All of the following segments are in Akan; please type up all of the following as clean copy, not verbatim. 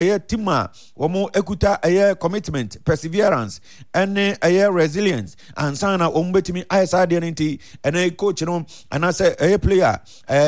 Ɛyɛ team a wɔn kuta ɛyɛ commitment, perseverance ɛne ɛyɛ resilience ansa na wɔn bɛtumi ayɛ saa adeɛ no. Nti ɛnɛ coach no anaasɛ ɛyɛ player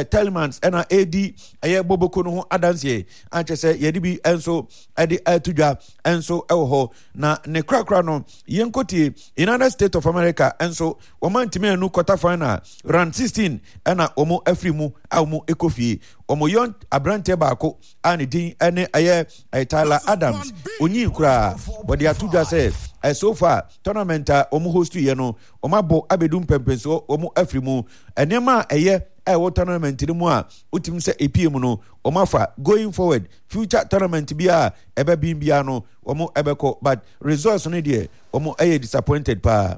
Telemans ɛna ɛredi ɛyɛ boboko no ho adanseɛ akyɛ sɛ yɛde bi nso ɛde ɛto dwa nso ɛwɔ hɔ. Na ne korakora no, yɛnkɔtie United States of America nso, wɔn antumi anu quarter final, round 16 ɛna wɔn afiri mu a wɔn ɛkɔ fie. Wɔn yɔn aberanteɛ baako a ne din ne ɛyɛ Tyler Adams, onyii koraa, wɔde ato dwa sɛ so far tournament a wɔn host yɛ no, wɔn abɔ abɛdu mpɛmpɛnsoɔ, wɔn afiri mu. Nneɛma a ɛyɛ a ɛwɔ tournament no mu a wotumi sɛ epie mu no, wɔn afa going forward, future tournament bi a ɛbɛbin biara no wɔn ɛbɛkɔ, but results no deɛ, wɔn ɛyɛ disappointed paa.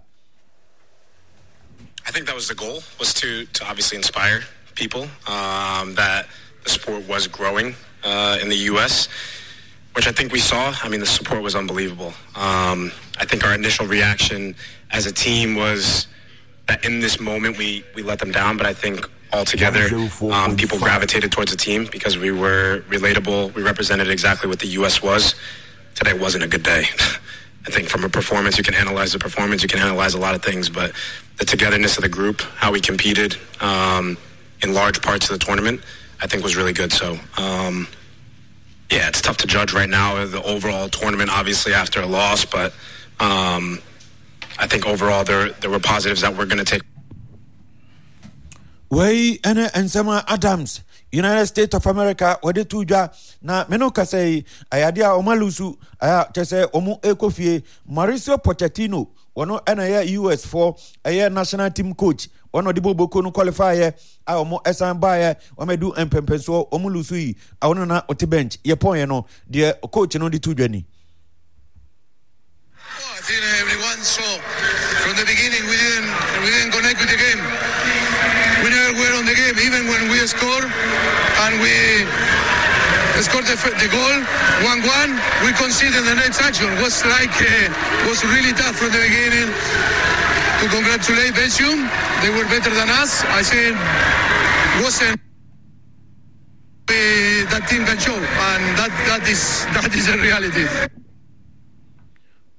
I think that was the goal, was to obviously inspire people that the sport was growing in the U.S., which I think we saw. I mean, the support was unbelievable. I think our initial reaction as a team was that in this moment we let them down, but I think altogether people gravitated towards the team because we were relatable. We represented exactly what the U.S. was. Today wasn't a good day. I think from a performance, you can analyze the performance, you can analyze a lot of things, but the togetherness of the group, how we competed in large parts of the tournament, I think was really good. So, yeah, it's tough to judge right now the overall tournament, obviously after a loss, but I think overall there were positives that we're going to take. Wei ɛne nsɛm a Adams, United States of America, wɔde to dwa. Na me no kasa yi, ɛyɛ adeɛ a wɔn alose, ɛyɛ kyɛ sɛ wɔn ɛkɔ fie. Mauricio Pochettino, wɔn ɛna ɛyɛ US foɔ ɛyɛ national team coach, wɔn ɔde boboko no qualify yɛ a wɔn ɛsan baeɛ, wɔn adu mpɛmpɛnsoɔ, wɔn lose yi a wɔn na ɔte bench yɛ pɔn yɛ no deɛ, coach no de to dwa ni. I think everyone saw from the beginning we didn't connect with the game. We never were on the game, even when we scored and we scored the goal 1-1. We conceded the next action. Was like was really tough from the beginning. To congratulate Belgium, they were better than us. I think wasn't that team can show, and that is a reality.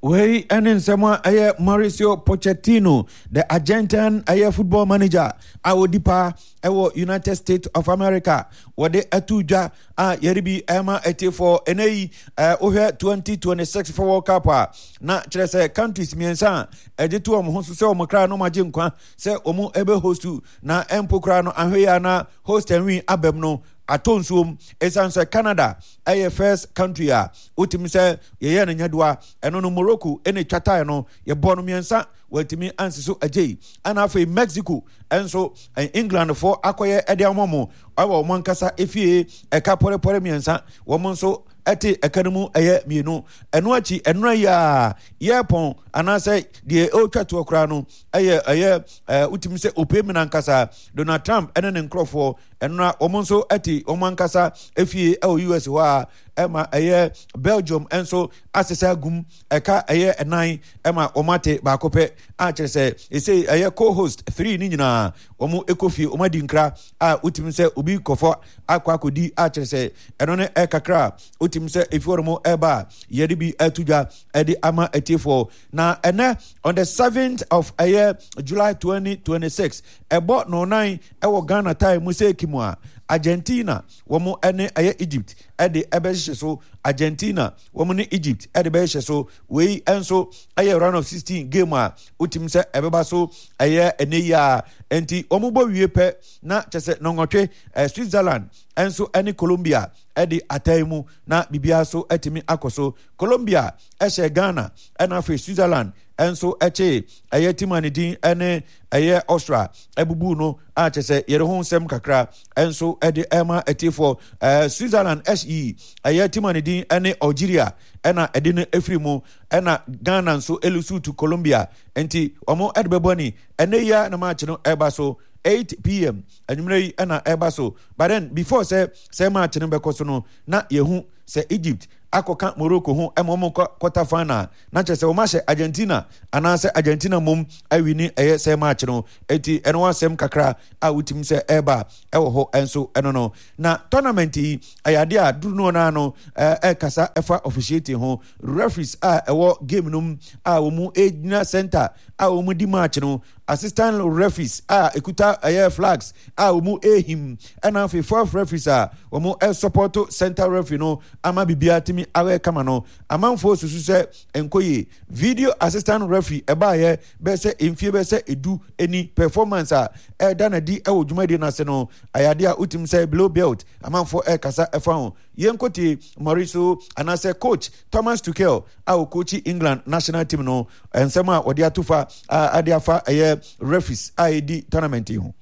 Wei ne nsɛm a ɛyɛ Mauricio Pochettino, the Argentine ɛyɛ football manager a ɔdi paa ɛwɔ United States of America, wɔde ato dwa a yɛde bi ɛma atiefoɔ ɛnɛ yi. Wohwɛ 2026 for World Cup a, na kyerɛ sɛ countries mmiɛnsa a ɛgye to wɔn ho so sɛ wɔn kra no magye nkwa sɛ wɔn ɛbɛ host, na ɛmpo koraa no ahwɛ yi a na host and win abam no atɔ nsuom, ɛsiane sɛ Canada ɛyɛ first country a wotumi sɛ yɛyɛ no nyadoa. Ɛno no Morocco ɛna etwa tae no, yɛbɔ no mmiɛnsa, wɔatumi ansi so agye yi. Ɛna afei Mexico nso, England foɔ akɔyɛ ɛde ama mo ɛwɔ wɔn ankasa efie, ɛka pɔrepɔre mmiɛnsa, wɔn nso ɛte ɛka no mu ɛyɛ mmienu. Ɛno akyi ɛnora yi a yɛpɔn anaasɛ deɛ ɛretwa toɔ koraa no ɛyɛ wotumi sɛ opie mu nankasa Donald Trump ɛne ne nkurɔfoɔ ɛnora, wɔn nso ɛte wɔn ankasa efie ɛwɔ US hɔ a ɛma ɛyɛ Belgium nso asesa agum ɛka ɛyɛ ɛnan ɛma wɔn ate baako pɛ, a kyerɛ sɛ ɛsɛ ɛyɛ co-host three ne nyinaa wɔn ɛkɔ fie, wɔn adi nkra a wotumi sɛ obi kɔfɔ akɔ akɔdi, a kyerɛ sɛ ɛno ne ɛkakra a wotumi sɛ efi hɔ nom ɛba a yɛde bi ɛto dwa ɛde ama atiefoɔ. Na ɛnɛ on the 7th of ɛyɛ July 2026, ɛbɔ nɔnan ɛwɔ Ghana time mu sɛ ekimu a, Argentina wɔn ɛne ɛyɛ Egypt ɛde ɛbɛhyehyɛ so. Argentina wɔn ne Egypt ɛde bɛhyehyɛ so. Wei nso ɛyɛ round of 16 game a wotumi sɛ ɛbɛba so ɛyɛ ɛnɛ yi a. Nti wɔn bɔ wie pɛ na kyɛ sɛ nɔngɔtwe Switzerland nso ɛne Colombia ɛde atan mu, na biribiara so ɛtumi akɔ so. Colombia ɛhyɛ Ghana, ɛna afei Switzerland nso ɛkye ɛyɛ team a ne din ɛne ɛyɛ Austria ɛbubu no, a kyɛ sɛ yɛde ho nsɛm kakra nso ɛde ɛma atiefoɔ. Switzerland ɛyi ɛyɛ team a ne din ɛne Algeria ɛna ɛde no efiri mu, ɛna Ghana nso elose to Colombia. Nti wɔn ɛde bɛbɔ ani ɛnɛ yi a na match no ɛba so 8 p.m. anwummerɛ yi ɛna ɛba so. But then before sɛ match no bɛkɔ so no, na yɛhu sɛ Egypt akɔka Morocco ho ma wɔn kɔ quarter final na kyerɛ sɛ wɔn ahyɛ Argentina anaasɛ Argentina mmom awini ɛyɛ sɛ match no eti ɛno asɛm kakra a wotumi sɛ ɛreba ɛwɔ hɔ nso ɛno no na tournament yi ɛyɛ adeɛ a duru no naa no ɛrekasa ɛfa officiating ho referees a ɛwɔ game no mu a wɔn gyina center a wɔn di match no assistant referees a ekuta ɛyɛ flags a wɔn ehim ɛna afei fourth referees a wɔn ɛsupɔto center referee no ama biribiara tumi awɛ kama no amanfoɔ susu sɛ nkoye video assistant referee ɛbaayɛ bɛyɛ sɛ mfie bɛyɛ sɛ edu ni performance a ɛda n'adi ɛwɔ dwumadie no ase no ayade a wotim sɛ below belt amanfoɔ ɛrekasa ɛfa ho yɛnkotie Mauricio anaasɛ coach Thomas Tuchel a ɔkookyi England national team no nsɛm a wɔde ato fa a ade afa ɛyɛ referees a ɛdi tournament yi ho.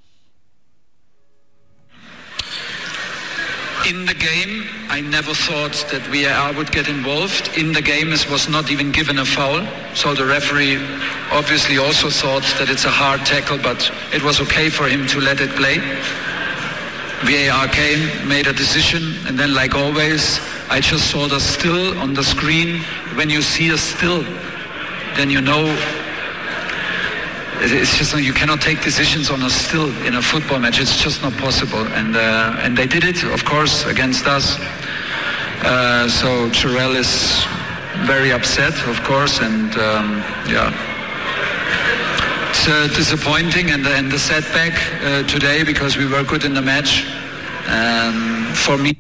In the game, I never thought that VAR would get involved. In the game, it was not even given a foul. So the referee obviously also thought that it's a hard tackle, but it was okay for him to let it play. VAR came, made a decision, and then like always, I just saw the still on the screen. When you see a still, then you know it's just you cannot take decisions on a still in a football match. It's just not possible. And uh, and they did it, of course, against us. Uh, so Churel is very upset, of course, and um, yeah, it's uh, disappointing and, and the setback uh, today because we were good in the match. Um, for me.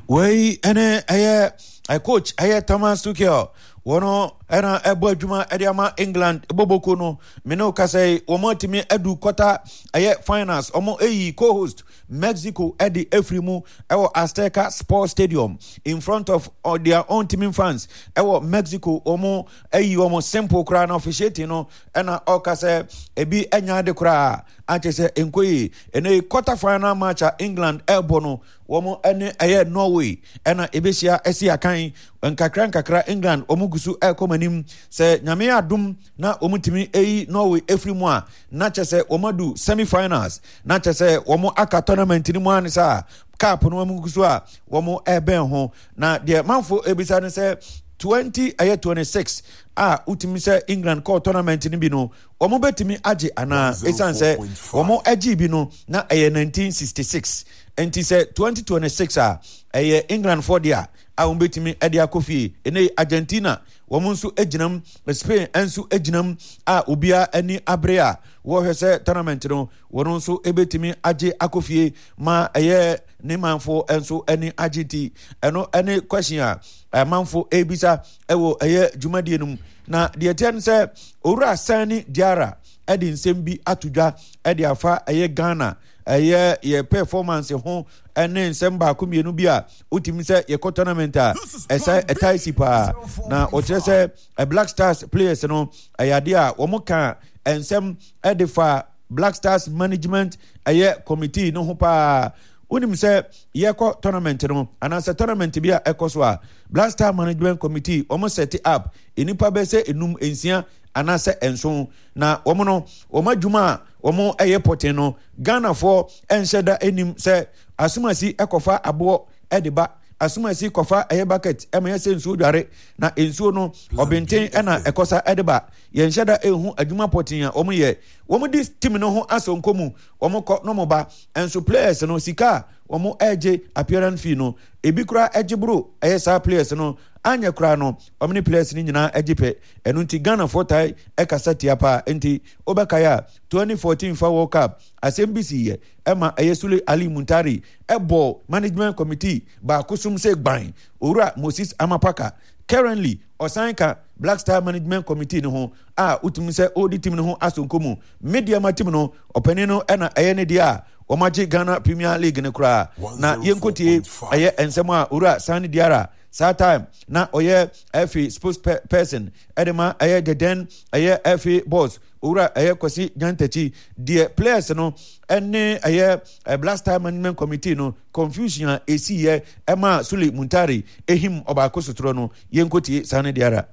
Wei ɛne ɛyɛ coach ɛyɛ Thomas Tuchel wɔn ɛna ɛbɔ adwuma ɛde ama England bɔbɔko no mene wo kasa yi wɔn atumi adu quarter ɛyɛ finals wɔn ɛyi co-host Mexico ɛde efiri mu ɛwɔ Azteca Sports Stadium in front of uh, their own team fans ɛwɔ Mexico wɔn ɛyi wɔn simple koraa na officiating no ɛna ɔka sɛ ebi ɛnya ade koraa akyɛ sɛ nkɔ yie ɛnɛ yi quarter final match a England ɛrebɔ no wɔn ɛne ɛyɛ Norway ɛna ebehyia ɛsi akan nkakra nkakra England wɔn gu so ɛrekɔ wɔn anim sɛ nyame adum na wɔn tumi ɛyi Norway efiri mu a na kyɛ sɛ wɔn adu semi finals na kyɛ sɛ wɔn aka tournament no mu anisa cup no wɔn gu so a wɔn ɛbɛn ho na deɛ manfo ebisa no sɛ 20 ɛyɛ 26 a wotumi sɛ England kɔɔ tournament no bi no wɔn bɛtumi agye anaa ɛsiane sɛ wɔn agye bi no na ɛyɛ 1966 nti sɛ 2026 a ɛyɛ England foɔ deɛ a wɔn bɛtumi de akɔ fie ɛnɛ Argentina wɔn nso gyinam Spain nso gyinam a obiara ani abere a wɔhwɛ sɛ tournament no wɔn nso bɛtumi agye akɔ fie ma ɛyɛ ne manfoɔ nso ani agye nti ɛno ɛne question a amanfo ɛrebisa ɛwɔ ɛyɛ dwumadie no mu na deɛ ɛteɛ no sɛ owura Sani Diarra ɛde nsɛm bi ato dwa ɛde afa ɛyɛ Ghana ɛyɛ yɛ performance ho ɛne nsɛm baako mmienu bi a wotumi sɛ yɛkɔ tournament a ɛsɛ ɛtae si paa na ɔkyerɛ sɛ Black Stars players no ɛyɛ adeɛ a wɔn ka nsɛm ɛde fa Black Stars management ɛyɛ committee no ho paa wonim sɛ yɛkɔ tournament no anaasɛ tournament bi a ɛkɔ so a Black Star Management Committee wɔn set up nnipa bɛyɛ sɛ enum nsia anaasɛ nson na wɔn no wɔn adwuma a wɔn ɛyɛ pɔten no Ghanafoɔ nhyɛ da anim sɛ asomasi ɛkɔfa aboɔ ɛde ba asomasi kɔfa ɛyɛ bucket ɛma yɛ sɛ nsuo dware na nsuo no ɔbɛnten ɛna ɛkɔsa ɛde ba yɛnhyɛ da ehu adwuma pɔten a wɔn yɛ wɔn di team no ho asɔnkɔ mu wɔn kɔ na wɔn ba nso players no sika a wɔn ɛgye appearance fee no ebi koraa ɛgye boro ɛyɛ saa players no anyɛ koraa no wɔn ne players no nyinaa ɛgye pɛ ɛno nti Ghanafoɔ tae ɛkasa tia paa nti wobɛkae a 2014 fa World Cup asɛm bi si yɛ ɛma ɛyɛ Sule Ali Muntari ɛbɔ management committee baako som sɛ gban owura Moses Amapaka currently ɔsan ka Black Star Management Committee no ho a wotumi sɛ ɔredi team no ho asonko mu. Medeama team no, ɔpanin no na ɛyɛ ne deɛ a wɔagye Ghana Premier League no koraa. Na yɛnkɔtie ɛyɛ nsɛm a Owura Sani Diarra saa time na ɔyɛ FA spokesperson ɛde ma ɛyɛ the then ɛyɛ FA boss Owura ɛyɛ Kwasi Nyantakyi deɛ players no ɛne ɛyɛ Black Star Management Committee no confusion a ɛsiiɛ ɛma Sule Muntari ehim ɔbaako sotorɔ no yɛnkɔtie Sani Diarra.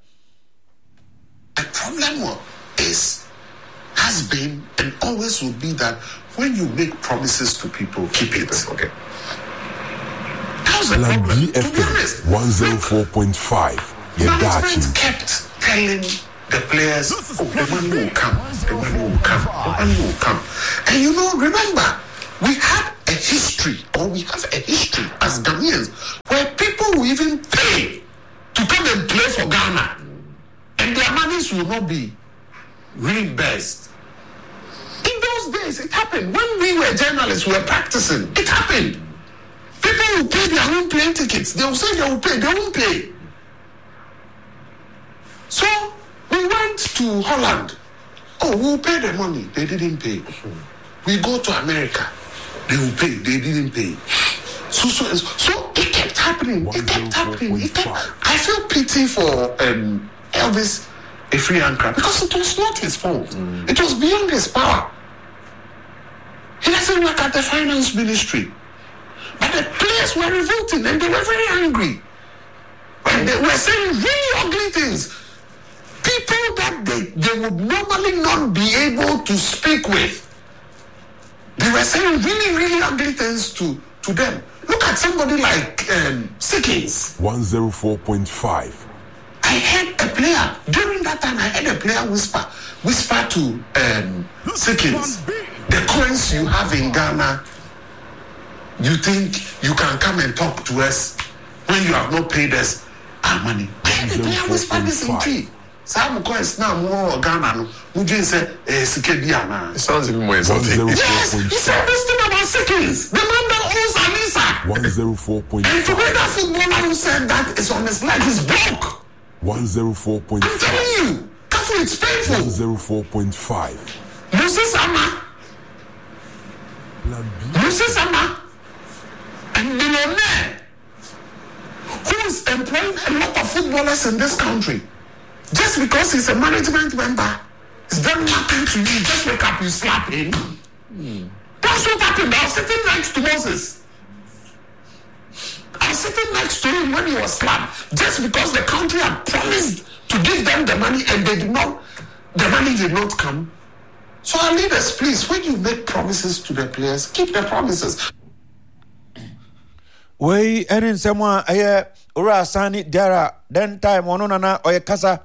The problem is, has been, and always will be that when you make promises to people, keep it. Okay. was the Plan problem. B To be honest, FM 104.5. Your management dachi. kept telling the players, oh, the money will come, the money will come, the money will come. And you know, remember, we had a history, or we have a history as Ghanaians, where people will even pay to come and play for Ghana, and their monies will not be reimbursed. In those days, it happened. When we were journalists, we were practicing. It happened. People will pay their own plane tickets. They will say they will pay. They won't pay. So we went to Holland. Oh, we'll pay the money. They didn't pay. We go to America. They will pay. They didn't pay. So so so it kept happening. It kept happening. It kept, I feel pity for Elvis Afriyie Ankrah because it was not his fault. It was beyond his power. He doesn't work at the finance ministry. But the players were revolting and they were very angry. And they were saying really ugly things. People that they would normally not be able to speak with. They were saying really, really ugly things to them. Look at somebody like Sikkins. 104.5. I heard a player, during that time, I heard a player whisper to Sikkins, the coins you have in Ghana, you think you can come and talk to us when you have not paid us our money. I heard a player whisper this in Twi. Some coins now more Ghana no. Mujin say, Sike bi ana. It sounds even more insulting. Yes, he said this thing about Sikkins. The man that owns Anisa. 104.5. And today that footballer who said that is on his leg, he's broke. 104.5. I'm telling you, Kafu, it's painful. 104.5. Moses Ama. Moses Ama, a millionaire who is employing a lot of footballers in this country. Just because he's a management member, he's done nothing to you. Just wake up, you slap him. That's what happened. I was sitting next to Moses. I was sitting next to him when he was slapped. Just because the country had promised to give them the money and they did not, the money did not come. So our leaders, please, when you make promises to the players, keep the promises. Wei ɛne nsɛm a ɛyɛ Owura Sani Diarra then time ɔno nana ɔyɛ kasa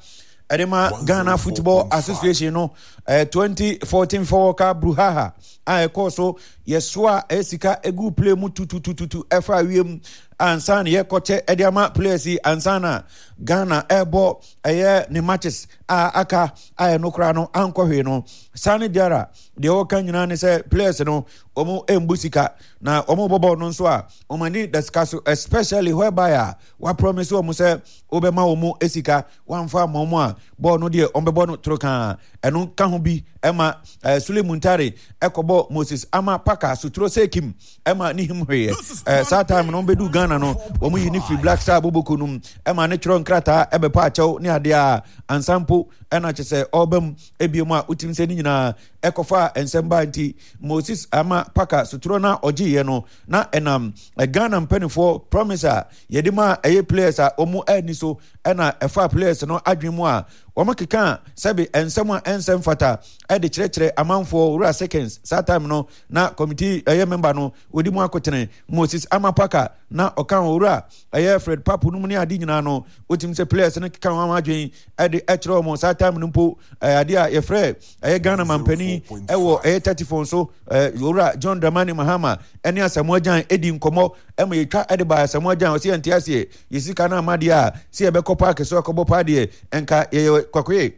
ɛde ma Ghana Football Association no 2014 World Cup brouhaha a ɛkɔɔ so yɛsoa ɛyɛ sika egu play mu tututututu ɛfa wiem ansa na yɛkɔkyɛ ɛde ama players yi ansa na Ghana ɛbɔ ɛyɛ ne matches a aka a ɛno koraa no ankɔ hwee no. Sani Diarra deɛ ɔka nyinaa ne sɛ players no wɔn mbu sika na wɔn bɔ bɔɔl no nso a wɔn ani da sika so, especially whereby a wapromise wɔn sɛ wɔbɛma wɔn sika wɔamfa ama wɔn a bɔɔl no deɛ wɔn bɛbɔ no toro kaa. Ɛno ka ho bi ɛma Sule Muntari ɛkɔbɔ Moses Ama Paka Suturo Sekim ɛma ne him hweeɛ. Saa time no wɔn bɛdu Ghana no wɔn yi ne firi Black Star boboko no mu ɛma ne twerɛ nkrataa ɛbɛpa akyɛw ne adeɛ a ansa mpo ɛna kyɛ sɛ ɔreba mu ebiem a wotim sɛ ne nyinaa ɛkɔfaa nsɛm baa nti Moses Ama Paka sotorɔ no a ɔgyeeɛ no na ɛnam Ghana mpanimfoɔ promise a yɛde ma ɛyɛ players a wɔn ani so ɛna ɛfa players no adwene mu a wɔn keka sɛbe nsɛm a ɛnsɛ mfata ɛde kyerɛkyerɛ amanfoɔ. Wura Seconds saa time no na committee ɛyɛ member no wɔdi mu akotene Moses Ama Paka na ɔka owura ɛyɛ Fred Papo no mu ne ade nyinaa no wotim sɛ players no keka wɔn adwene ɛde ɛkyerɛ wɔn saa time no mpo ɛyɛ adeɛ a yɛfrɛ ɛyɛ Ghana mampanin ɛwɔ ɛyɛ telephone so owura John Dramani Mahama ɛne Asamoah Gyan ɛdi nkɔmmɔ ɛma yɛtwa ɛde ba Asamoah Gyan ɔsɛ yɛnte aseɛ yɛ sika no ama deɛ a sɛ yɛbɛkɔ paaki so akɔbɔ paa deɛ ɛnka yɛyɛ kwakoye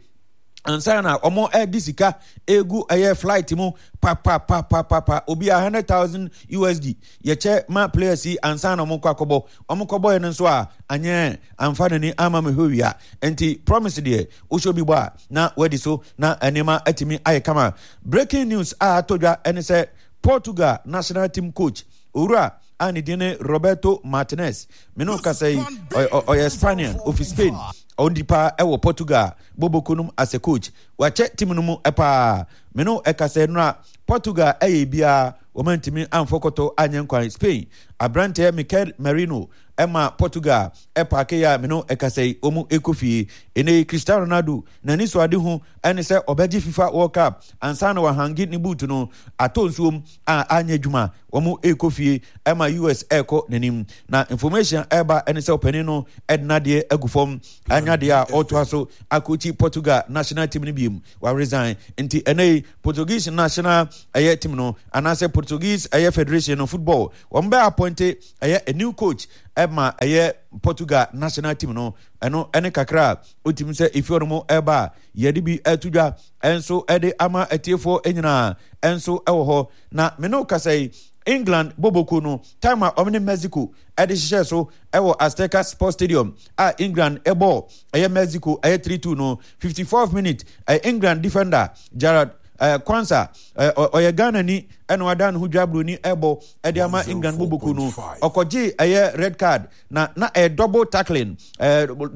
ansa na wɔn ɛde sika egu ɛyɛ flight mu papapapapa obi a 100,000 USD yɛkyɛ ma players yi ansa na wɔn kɔ akɔbɔ wɔn kɔbɔ yɛ no nso a anyɛ amfa n'ani ama me hɔ wia nti promise deɛ wohyɛ obi bɔ a na wadi so na nneɛma atumi ayɛ kama. Breaking news a atɔ dwa ɛne sɛ Portugal national team coach owura a ne din ne Roberto Martinez me no kasa yi ɔyɛ Spanian ofi Spain ɔndi paa ɛwɔ Portugal boboko nom as a coach wakyɛ team no mu paa. Me no ɛkasa nnora Portugal ɛyɛ biara wɔn antumi amfɔ kɔtɔ anyɛ nkwan. Spain aberanteɛ Mikel Merino ɛma Portugal ɛpaake yɛ a me no ɛkasa yi wɔn ɛkɔ fie. Ɛnɛ yi Cristiano Ronaldo n'ani so ade ho ɛne sɛ ɔbɛgye FIFA World Cup ansa na wahange ne boot no atɔ nsuom a anyɛ adwuma. Wɔn ɛkɔ fie ɛma US ɛkɔ n'anim. Na information ɛba ɛne sɛ ɔpanin no ɛde n'adeɛ agu fam anya deɛ a ɔtoa so akɔkyi Portugal national team no biem wa resign. Nti ɛnɛ yi Portuguese national ɛyɛ team no anaasɛ Portuguese ɛyɛ federation no football wɔn bɛ appoint ɛyɛ a new coach ɛma ɛyɛ Portugal national team no. Ɛno ɛne kakra a otimi sɛ efi ɔno mu ɛba a yɛde bi ɛto dwa ɛnso ɛde ama atiefoɔ nyinaa ɛnso ɛwɔ hɔ. Na me no kasa yi, England boboko no time a wɔn ne Mexico ɛde hyehyɛ so ɛwɔ Azteca Sports Stadium a England ɛbɔ ɛyɛ Mexico ɛyɛ 3-2 no, 54th minute, ɛyɛ England defender Gerard Kwansa, ɔyɛ Ghana ni ɛna wada ne ho dwa buroni ɛbɔ ɛde ama England boboko no, ɔkɔgye ɛyɛ red card na ɛyɛ double tackling,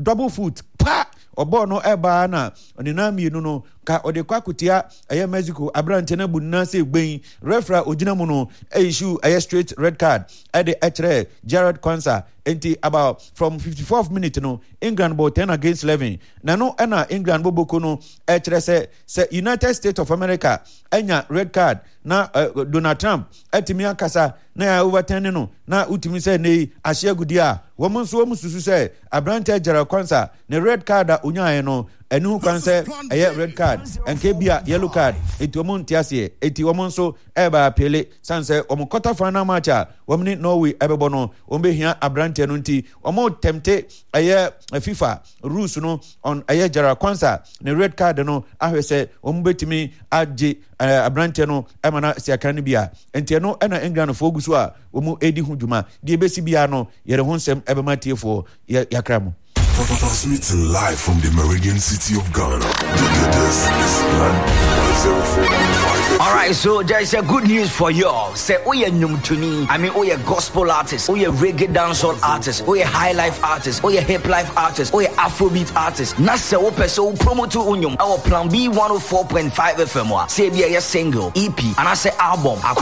double foot pa ɔbɔɔ no ɛbaa na ne nan mmienu no ka ɔde kɔ akotia ɛyɛ Mexico aberante no abu ne nan sɛ gbɛn. Referee a ogyina mu no issue ɛyɛ straight red card ɛde ɛkyerɛ Gerard Kwansa. Nti about from 54th minute no England bɔ 10 against 11 na no ɛna England boboko no ɛkyerɛ sɛ United States of America ɛnya red card na Donald Trump ɛtumi akasa na yɛ overturn no na wotumi sɛ ne yi ahyɛ agudi a wɔn nso wɔn susu sɛ aberante Gerard Kwansa ne red card a onyaeɛ no ɛne ho kwan sɛ ɛyɛ red card, nka bi a yellow card, eti wɔn nte aseɛ. Eti wɔn nso ɛreba appeal san sɛ wɔn quarter final match a wɔn ne Norway ɛbɛbɔ no wɔn bɛhia aberanteɛ no, nti wɔn tɛmte ɛyɛ FIFA rules no on ɛyɛ Gerard Kwansa ne red card no ahwɛ sɛ wɔn bɛtumi agye aberanteɛ no ɛma na si akan no bi a. Nti ɛno ɛna Englandfoɔ gu so a wɔn redi ho dwuma. Deɛ ebesi biara no yɛde ho nsɛm ɛbɛma tiefoɔ yɛ yakra mu. Transmitting live from the Meridian City of Ghana. This is Plan 104.5. All right, so there's a good news for you. Say, oh, yeah, nnwomtoni. I mean, oh, yeah, gospel artist, oh, yeah, reggae dancehall artist, oh, yeah, high life artist, oh, yeah, hip life artist, oh, yeah, Afrobeat artist. Na sɛ wopɛ sɛ wo promote wo nnwom ɛwɔ Plan B 104.5 FM a, sɛ ebi ɛyɛ single, EP, anaasɛ album.